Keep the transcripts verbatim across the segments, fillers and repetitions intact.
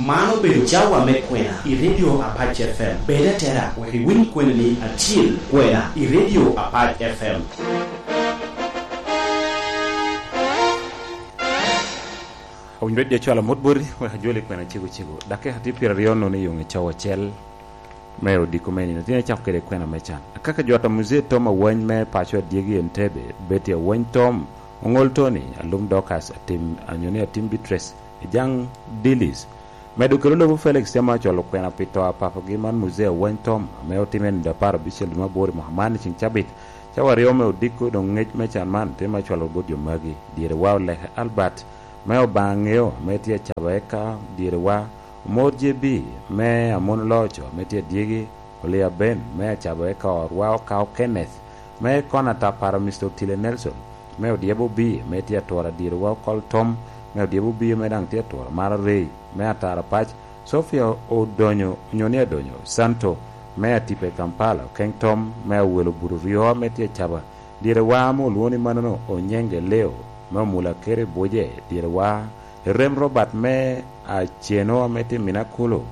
Man obedo cawa me kwena i Radio Apac F M. Bed atera wek iwiny kweni-ni acil, kwena i Radio Apac F M. Owinyo jo cwalo mot boti, wek ajoli kwena cego cego. Dakika tye pyeraryo nono i yoŋe cawa acel me odiko me nino. Tin acako kede kwena me can. Akaka jot a Muzee Tom Awany me paco adyegi Entebbe, Betty Awany Tom, Oŋol Tony, Alum Dorcas, Atim, anyo ni Atim Beatrice, Ejang Dilis. Medo kelo lobo Felix tye ma ocwalo kwena pi to a papagi man Muzee Awany Tom, ame otimme i nino apar abicel dwe me aboro i mwaka man i ceng cabit. Cawa aryo me odiko doŋ ŋec me can man tye ma ocwalo bot jo magi. Dyere wa Oleke Albert, me Obaŋa Ŋeo, ame tye acaba eka dyere wa Omor J B, me Amono Loco, ame tye adyegi, Olia Ben, me acaba eka orwa Okao Kenneth, me Kona Tapara Mister Otile Nelson, me Odyebo Obie, me tye atura dyere wa Okol Tom, me Odyebo Obie, me daŋ tye atura Mara Rey, me Atara Pac, Sofia Odonyo, onyo ni Adonyo, Santo, me Atipa i Kampala, Okeŋ Tom, me Awelo Buto Ryo, me tye acaba, dyere wa ame olwoŋo ni manono Onyenge Leo, me Omula Kere Buje, dyere wa Erem Robert me Aceno ame tye i Minakulu,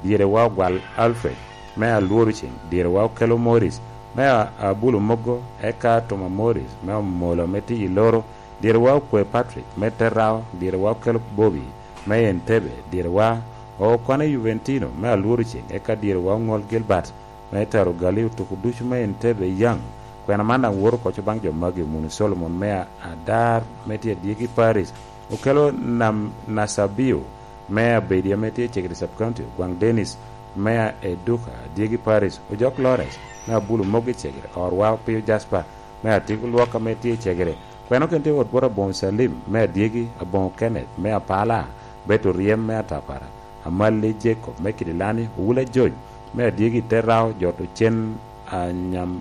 dyere wa Ogwal Alfred me Alworo Ceng, dyere wa Okelo Morris me A-, Abulo Mogo, eka Toma Morris me Omolo ame tye i Loro, dyere wa Okwe Patrick me Terao, dyere wa Okelo Bobi me Entebbe, dyere wa Okwane Juventino me Alworo Ceng, eka dyere wa Oŋol Gilbert me Taro Gali otuko ducu me Entebbe yaŋ. Kwena man daŋ woto oko baŋ jo magi, Omuni Solomon me A-, Adar me tye adyegi Paris, Okelo Nam-, Nasabio me Abedi ame tye Cegere Sub County, Ogwaŋ Dennis me Eduka, adyegi Paris, Ojok Lawrence me Abulo Mogo i Cegere, Orwa Opio Jasper me Atiko Lwok ame tye i Cegere. Kwena okene tye wot bot Aboŋo Salim me adyegi, Aboŋo Kenneth me Apala, Beto Ryem me Atapara, Amalli Jacob me Kidilani, Owula Jony me adyegi Terao, Joto Cen Anyam,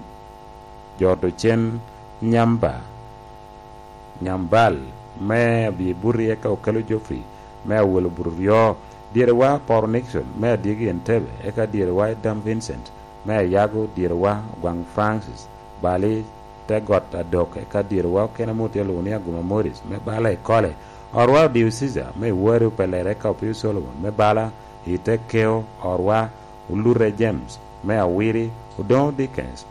Joto Cen Nyamba, Nyambal me Abyebuti, eka Okelo Geoffrey me Awelo Buto Ryo, dyere wa Poro Nixon me adyegi Entebbe, eka dyere wa Adam Vincent me Ayago, dyere wa Ogwaŋ Francis Bali, te got Adok, eka dyere wa okene amut i Aluni Aguma Morris me Bala i Kole, Orwa Odio Caesar me Iwari Opelere, eka Opio Solomon me Bala i te Keo, Orwa Olute James me Awiri, Odoŋo Dickens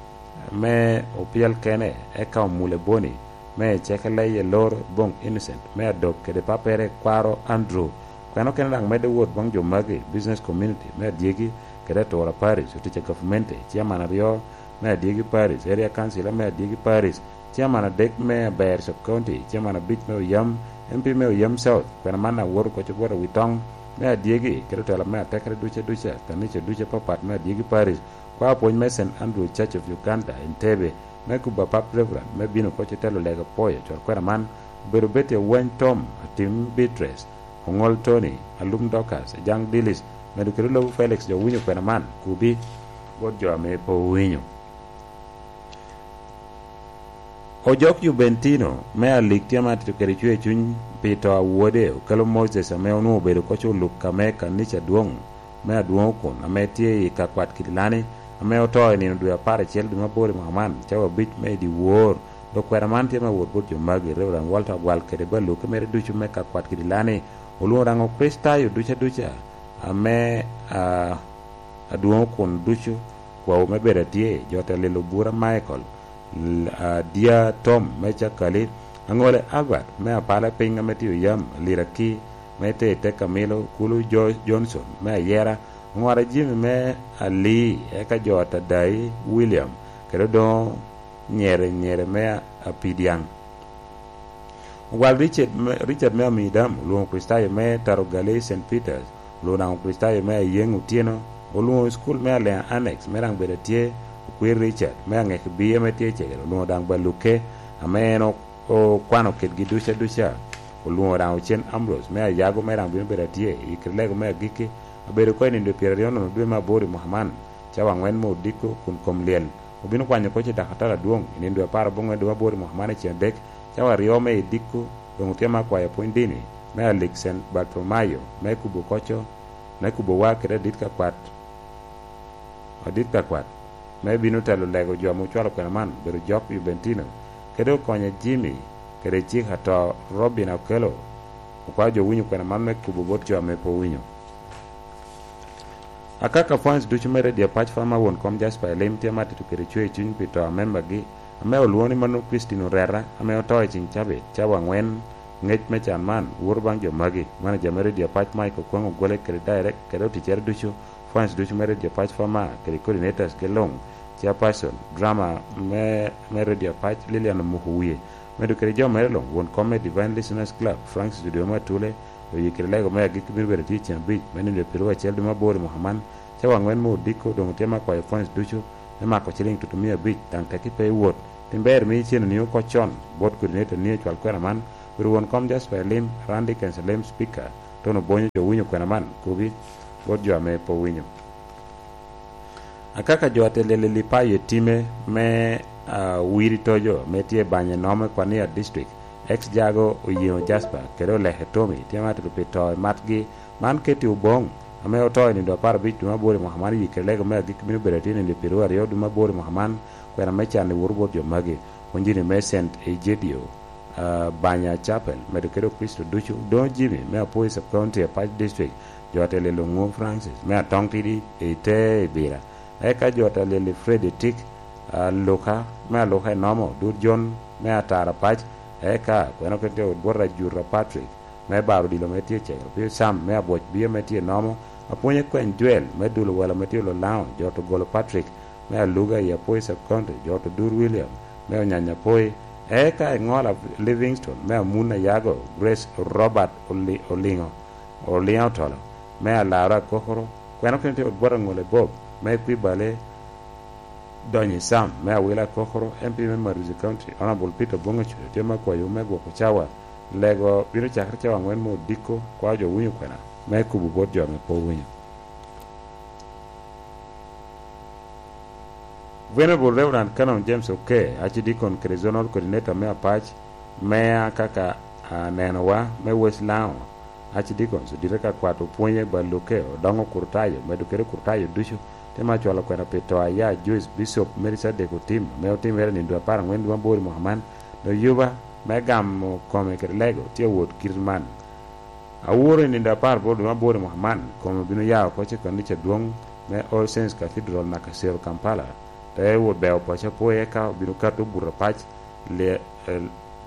me Opyel Kene, eka Omule Boni me Cekeleye Lor, Boŋ Innocent me Adok kede pappere Kwaro Andrew. Kwena okene daŋ medde wot baŋ jo magi, business community me adyegi kede atura Paris, otic a gavumenti, chairman aryo me adyegi Paris, area councilor me adyegi Paris, chairman adek me Aber Sub County, chairman abic me Oyam, M P me Oyam South. Kwena man daŋ woto oko bot Awitoŋ me adyegi kede otela me atekere duca duca, kanica duca apapat me adyegi Paris, kwao pwony me Saint Andrew Church of Uganda, Entebbe, me kubo apap Reverend me bino oko telo lega pwoyo cwal kwena man, obedo Betty Awany Tom, Atim Beatrice, Oŋol Tony, Alum Dorcas, Ejang Dilis, medo kede lobo Felix, jo winyo kwena man, kubi bot jo ame pe owinyo. Ojok Juventino me Alik tye ma atito kede cwer cuny pi to a wode, Okelo Moses, ame onwoŋo obedo koc oluk ame kanica adwoŋ me Adwoŋo kun, ame tye i ka kwat Kidilani, ame oto i nino dwe apar acel dwe me aboro i mwaka man, cawa abic me i dyewor. Dok kwena man tye me wot bot jo magi, Reverend Walter Ogwal kede baluke mere ducu me ka kwat Kidilani, olwoŋo daŋ Okricitayo duca duca, ame, a, Adwoŋo kun ducu, kwawu me bedo atye, jo te lilo bura Michael, l-, a, Dia Tom me Cakali, Aŋole Albert me Apala Piny ame tye Oyam, Liraki me te, te Kamilo, Kulu Jo-, Johnson me Ayera, Oŋwara Jimmy me Ali, eka jo Atadai William, kede Odoŋo Nyere, Nyere me Apidiaŋ. Ogwal Richard me, Richard me Amidam, olwoŋo Kricitayo me Tarogale Saint Peters, olwoŋo daŋ Kricitayo me Ayeŋ Otyeno, olwoŋo i cukul me Aleŋa Annex, me daŋ bedo atye Okwir Richard, me Aŋek Biye me tye Cegere, olwoŋo daŋ Baluke, ame en o-, okwano kitgi duca duca, olwoŋo daŋ Ocen Ambrose, me Ayago, me daŋ bino bedo atye i kite lego me agikki, abedo oko i nino dwe pyeraryo nono dwe me aboro i mwaka man, cawa aŋwen me odiko kun kom lyel. Obino kwanyo koc i dakatara adwoŋ i nino dwe apar aboŋwen dwe me aboro i mwaka man i ceng adek, cawa aryo me idiko, doŋ otye me akwayo pwony dini me Alik Saint Bartholomayo, me kubo koco, me kubo war kede adit ka kwat, adit ka kwat, me bino telo lego jo ame ocwalo kwena man, obedo Jok Juventino, kede okonye Jimmy, kede cik ato Robin Okello, okwao jo winyo kwena man me kubo bot jo ame pe owinyo. Akaka fans ducu me Radio Apac Fama won kom Jasper Elim tye ma tito kede cwer cuny pi to a membagi, ame olwoŋo ni mano Christine Oreta, ame oto i ceng cabit, cawa angwen, ngec me can man, woto baŋ jo magi. Manager me Radio Apac Mike Okwang ogwele kede direct kede oticcere ducu, fans ducu me Radio Apac Fama kede coordinators ge luŋ, chairperson, drama me, me Radio Apac Lilian Omuko Wie, medo kede jo mere luŋ, won kom me Divine Listeners Club, Francis Odiomo Atule, oye kede lego me agikki bino bedo tye i ceng abic me nino pyeraryo acel dwe me aboro i mwaka man, cawa angwen me odiko, doŋ otye me akwayo fans ducu me mako ciliŋ tutumia abic, daŋ tekki pe i wot. Tin ber mi iceno ni oko con, bot coordinator ni ocwal kwena man, bedo won kom Jasper Elim, Randy Kenselim, speaker, Tono Bonyo jo winyo kwena man, kobi bot jo ame pe owinyo. Akaka jo a telyel i Lipayo i time me, ah, Wiri Tojo, me tye i banya i Nome, Kwania District, ex Jago Oyeŋo Jasper, kede Oleke Tommy, tye ma tito pi to i matgi. Man Katie Oboŋ, ame oto i nindo apar abic dwe me aboro i mwaka man, yikere lego me agikki bino bedo atye i nindo pyeraryo aryo dwe me aboro i mwaka man, kwena me can i woro bot jo magi, onjini me Saint Egidio, ah, Banya Chapel, medo kede Okricito ducu, Doŋo Jimmy, me Apwoyo Sub County, Apac District, jo a telyel Oŋo Francis, me Atong Tidi, i te Ibira. Eka jo a telyel i Fred Etik, ah, Luka, me Aluka i Nomo, Dur Jon, me Atara Pac, eka kweno kede wot bwot Ajuta Patrick, me Baro Odilo, me tye Cegero, Pio Sam, me Abwoc Bio, me tye Nomo, Apwony Ekweny Jwel, me Dulo Welo, me tye Lolaŋo, jo to Golo Patrick, me Aluga i Apoi Sub County, jo to Dur William, me Onyanya Apoi, eka i Ŋola Livingstone, me Amun Ayago, Grace Robert Oli-, Oliŋo, Oliŋo Otolo, me Alaro Akokoro, kweno kene tye wot bwot Aŋole Bob, me Kwibale, Donyi Sam, me Awila Akokoro, M P me Maruzi County, Honorable Peter Bongo Cuyo, tye me akwayo me gwoko cawa, lego bino cakere cawa angwen me odiko, kwao jo winyo kwena, me kubo bot jo ame pe owinyo. Venerable Reverend Canon James Oke, Archdeacon kede Zonal Coordinator me Apac, me a kaka anenowa, me West Lango, Archdeacons odite ka kwat opwonye ba luke, odoŋo kurtayo, medo kede kurtayo ducu, te ma cwalo kwena pi to aya Joyce Bishop Mary Sadek Otim, ame otimere i nindo apar angwen dwe aboro i mwaka man, dok yuba me gamo kome kede lego tye awot kit man. Aworo i nindo apar boro dwe aboro i mwaka man, kome obino ya oko i kanica adwoŋ me All Saints Cathedral naka Cero Kampala, te wot beo paco apoya, eka obino kato buto apac, le-, eh,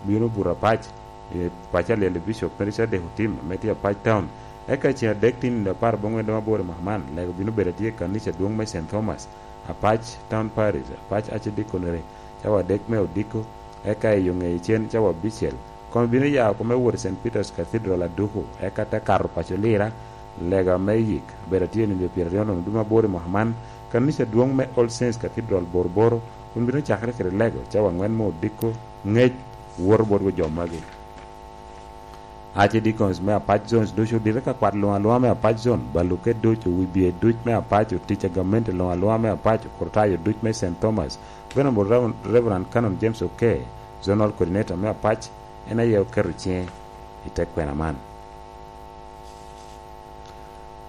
bino buto apac, eh, paco alyel i Bishop Mary Sadek Otim, ame tye Apac Town. Eka ceŋ adek tin nindo apar bongwen dwe aboro i mwaka man, lego bino bedo atye i kanica adwoŋ me Saint Thomas, Apac Town Parish, Apac Archdeaconry, cawa adek me odiko, eka i yo ŋeye cen cawa abicel, kome bino ya oko me wot i Saint Peter's Cathedral aduku, eka te kato paco Lira, lega me yik, bedo atye i nindo pyeraryo nono dwe aboro i mwaka man, kanica adwoŋ me All Saints Cathedral Boroboro, kun bino cakere kede lego cawa angwen me odiko, ŋec, woto bot jo magi. Archdeacons me Apac Zones ducu odite ka kwat luŋ aluŋa me Apac Zone, baluke duc, owibye duc me Apac, otic a gamente luŋ aluŋa me Apac, okurtayo duc me Saint Thomas, Venerable Rev-, Reverend Canon James Oke, Zonal Coordinator me Apac, en aye oketo ciŋe i te kwena man.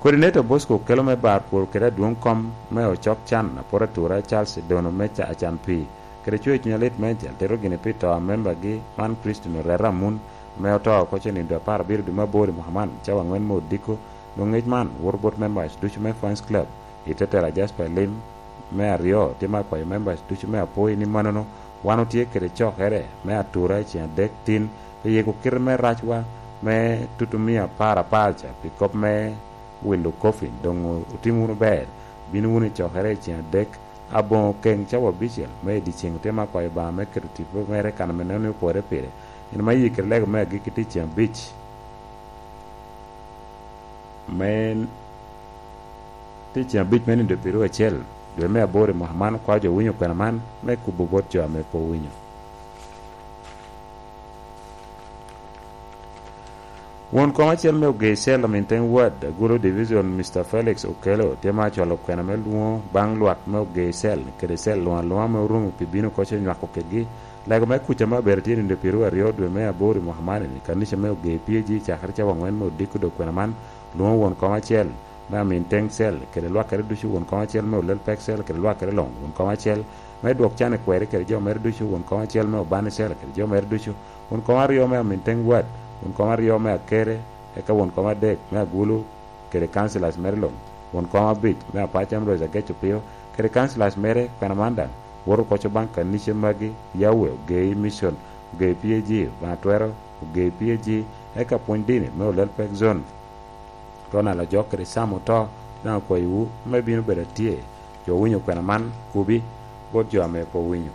Coordinator Bosco Okelo me bar pwol kede adwoŋ kom me ocok can, apot atura Charles Edono me ca-, Acan Pii, kede cwer cuny alit me jal tito gini pi to a membagi man Christine Oreta Amun, ame oto oko cen i dwe apar abiro dwe me aboro i mwaka man, cawa angwen me odiko. Doŋ ŋec man woto bot members ducu me Fans Club i te tela Jasper Lim me aryo, tye me akwayo members ducu me Apoi ni manono, wan otye kede cokere me atura i ceŋ adek tin, pi yiko kite me racwa me tutumia apar apar ca pi kop me wilo coffin. Doŋ otim wunu ber, bino wunu i cokere i ceŋ adek aboŋo keŋ cawa abicel me i dyeceŋ, otye me akwayo Obaŋa me keto tipo mere kan ame neno ni opore pire. Gin ma yikere lego me agikki tye i ceŋ abic. Me tye ceŋ abic me nindo pyeraryo acel dwe me aboro i mwaka man, kwao jo winyo kwena man me kubo bot jo ame pe owinyo. Won kom acel me Ogei Cell, Aminteng Ward, Agulu Division, Mister Felix Okello, tye ma acwalo kwena me lwoŋo baŋ lwak me Ogei Cell kede cell luŋ aluŋa ame orumo pi bino koco nywako kedgi. Lego me kuca me abedo tye nindo pyeraryo aryo dwe me aboro i mwaka man, i kanica me Ogei P A G, cakere cawa angwen me odiko dok kwena man, lwoŋo won kom acel me Aminteng Cell kede lwakere ducu, won kom acel me Olel Pek Cell kede lwakere luŋ, won kom acel me Dwok Can i Kweri kede jo mere ducu, won kom acel me Obani Cell kede jo mere ducu, won kom aryo me Aminteng Ward, won kom aryo me Akere, eka won kom adek me Agulu kede councillors mere luŋ. Won kom abic me Apac Ambrose Ageco Pio kede councillors mere kwena man daŋ woto koco baŋ kanica magi, Yahweh, Ogei Mission, Ogei P A G, Baŋ Atwero, Ogei P A G, eka pwony dini me Olel Pek Zone. Ronald Ajok kede Sam Oto daŋ okwayowu me bino bedo atye. Jo owinyo kwena man, kubi bot jo ame pe owinyo.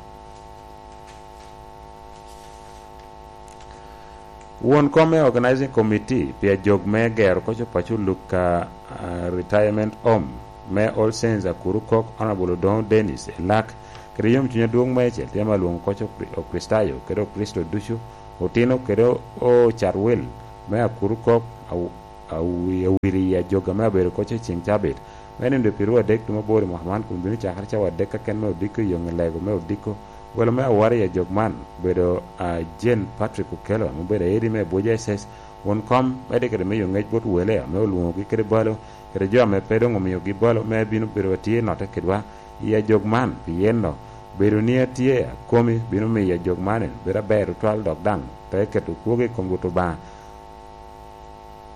Won kom me Organizing Committee pi ajog me gero koc opaco Luka, ah, Retirement Home me All Saints Akuru Kok, Honorable Odoŋo Dennis Elak, kede yomcuny adwoŋ meicel tye ame alwoŋo koc Okri-, Okricitayo kede Okricito ducu, otino kede ocat wil me Akuru Kok, aw-, awi-, awiri i ajog ame abedo koc i ceŋ cabit. Me nino dwe pyearyo adek tumo aboro i mwaka man, kun bino cakere cawa adek keken me odiko i yoŋe lego me odiko. Welo me awara i ajog man obedo, a, Jane Patrick Okello, ame obedo aedi me Abuja S S, won kom, me dikere miyo ŋec bot wele ame olwoŋogi kede balo, kede jo ame pe doŋ omiogi balo me bino bedo atye notte kedwa i ajog man, pien no, bedo ni atye akomi bino miyo ajog man bedo aber tutwal, dok daŋ pe keto kwogo i kom Rwot Obaŋa.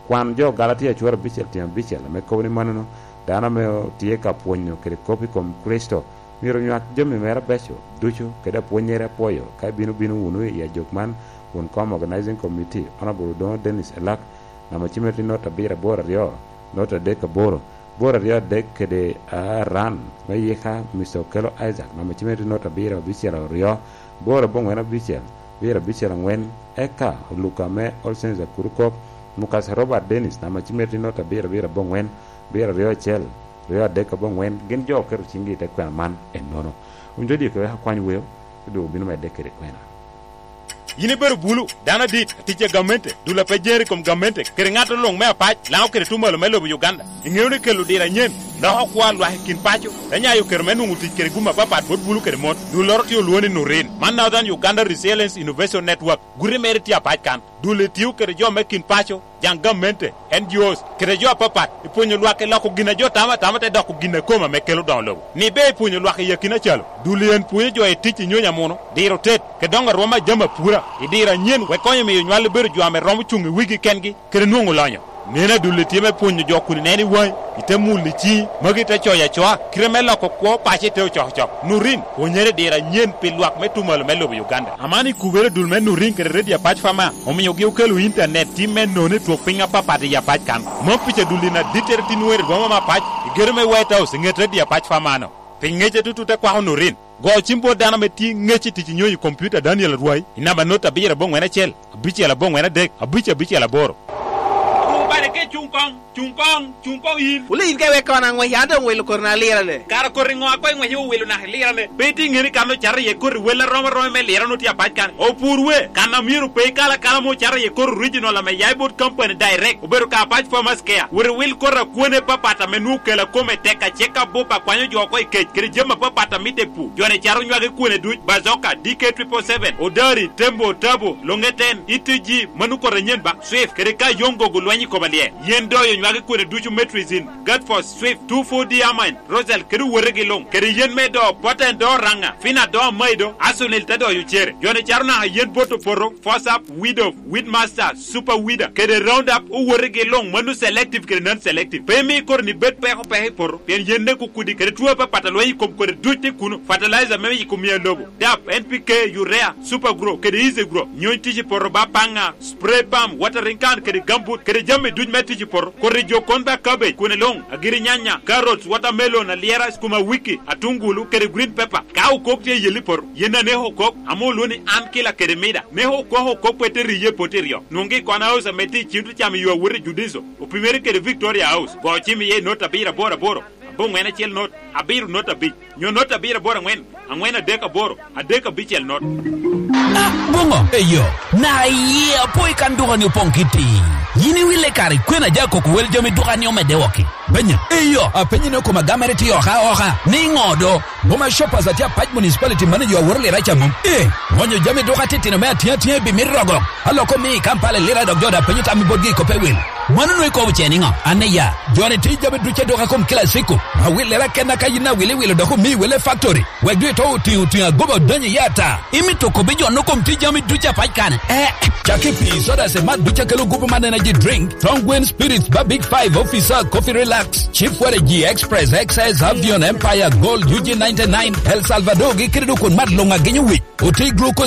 Kwan jo Galatia acwero abicel tyen abicel ame kobo ni mannono, dano ame tye ka pwonyo kede kop i kom Kricito myero onywak jami mere abeco ducu kede apwonnyere apwoyo. Ka ibino bino wunu i ajok man, won kom Organizing Committee, Honorable Odoŋo Dennis Elak, namba cimere tye not abiro aboro aryo, not adek aboro, boro aryo adek kede aran me yika, Mister Okello Isaac, namba cimere tye not abiro abicel aryo, boro aboŋwen abicel, biro abicel aŋwen, eka Oluka me All Saints Akuru Kok, Mukasa Robert Dennis, namba cimere tye not abiro abiro aboŋwen, biro aryo acel, ryo adek aboŋwen, gin jo oketo ciŋgi i te kwena man ennono. Wun jo diki wek akwany weo, te dwoko bino medde kede kwena. Yin ibedo bulu, dano adit, atic a gamente, dul a pe jeri i kom gamente, kede ŋat luŋ me apac, Laŋo kede Tumalo me lobo Uganda. Iŋeo ni kelo diro anyen, loko kwo a lwak i kin paco, te nyayo kero me nwoŋo tic kede gum apapat bot bulu kede mon. Dulloro tye olwoŋo ni Nurin. Man Northern Uganda Resilience Innovation Network. Guti mere tye apac kan. Dul-li tio kede jo me kin paco, jaŋ gamente, N G Os, kede jo apapat, i pwonyo lwak i loko gin a jo tamo atama te doko gin a kome ame kelo doŋo lobo. Ni ber i pwonyo lwak i akina calo, dul-li en pwonyo jo i tic i nyonyo amuno, diro tet, kede doŋo arwom a jami apura, i diro anyen, wek konyo miyo nywal bedo jo ame romo cuŋ i wigi kengi, kede nwoŋo lonyo. Neno a dul-li tye me pwonyo jo kun ineno i waŋi, ite mulo i ciŋi, magi te coyo acoa, kite me loko kwo paco ite ocokocok. Nurin, pwonyere diro anyen pi lwak me Tumalo me lobo Uganda. Aman i kubere dul me Nurin kede Redio Apac Fama, omiogi okelo intanet tim me nono i twok piny apapat i Apac kan. Mom pica dul-li na dittere tin wer i boma me Apac, i gedo me White House, i ŋet Redio Apac Fama-no. Pi ŋec atutu te kwako Nurin. Go cim bot dano ame tye ŋec i tic i nyonyo i kompiuta Daniel Arwai, i namba not abiro aboŋwen acel, abicel aboŋwen adek, abic abicel aboro. Abu bade ke cuŋ koŋ, cuŋ koŋ, cuŋ koŋ yin. Wule yin ka iwek kona aŋwec, an doŋ welo koti na lirane. Kara koti ŋo a koŋ iŋwec iwilo naka ilirane? Pe itye ŋeni kan ocato iye koti wel arom aroma me lirane otye apac kan. Opur we, kan a myero pe ikal akala mo ocato iye koti original ame ya i bot company direct. Obedo ka Apac Farmers Care. Wot iwil koti a kwone papat ame nwoŋo kela kome tek acek abup a kwanyo jo oko i kec kede jami apapat a mitte i pur. Jo-ni cato nywagi kwone duc, Bazoka, D K triple seven, Odari, Tembo, Tabo, Longeten, E T G, mano koti anyen ba, Swift, kede ka yoŋ gogo lweny i koma lye. Yen doyo nywagi kwone ducu, Metrizin, Gatfos, Swift, two four D Amine, Rosal, kede owotegi luŋ, kede yen me do, Poten do Raŋa, Fina do Amaido, Asunil te doyo cere. Jo-ni cato naka yen bot opoto, Fosap, Widow, Weedmaster, Super Weeder, kede Roundup, owotegi luŋ, mano selective kede non-selective. Pe imi koti-ni bed peko peko i poto, pien yen nek okudi, kede two apapat a lweny i kom koti duc tye kuno, fertilizer me yiko miyo lobo, dap, N P K, urea, Super Grow, kede Easy Grow. Nyony tic i poto ba paŋa, spray pump, watering can, kede gambut, kede jami duc me tic i poto. Koti jo kon ba cabbage, kwone luŋ, agiri nyanya, carrots, watermelon, alyera, sukuma wiki, atungulu, kede green pepper. Ka okok tye i yelli poto, yen aneko okok, ame olwoŋo ni an kila kede mida. Neko okok okok pe te riye poti ryo. Nwoŋgi i Kona House ame tye i cim te camo yo awot i Judiso, opimere kede Victoria House. Go cim iye i not abiro aboro aboro, aboŋwen acel not, abiro not abic, nyo not abiro aboro aŋwen, aŋwen adek aboro, adek abicel not. Ah, boŋo? Eyo, na iye apo i kan duka-ni opoŋ kiti. Yin iwille kare kwena ja koko wel jami duka-ni omedde wok-ki. Benya, eyo, apenyi ni okoma gamere tye oka oka, ni ŋo do? Boma Shoppers atye Apac Municipality manager aworo lira ca mom. Eh, ŋonyo jami duka titino me atiŋ atiŋ i bimit rogo. Aloko mi i Kampala i lira dok jo da penyo tam i botgi i koppe wil. Mano nwoŋo ikobo ce niŋo? An iya, joni tye jami ducu adwoka kom Classico. Awillere akenna ka yin awilo iwilo dok omi wele factory. Wek doŋ ito otiŋo otiŋo agoba odonyo iye ata. Imito kobbi jo no kom tye jami ducu apac kane? Eh, cak i pii, soda, cemat ducu akelo gupu man energy drink, Strong Green Spirits, ba Big Five, Officer, Coffee Relax, Chief Waragi, Express, X S, Avion, Empire, Gold, U G ninety-nine, El Salvador, gi kede dok kun mat luŋ agenyo wic. Oti glucose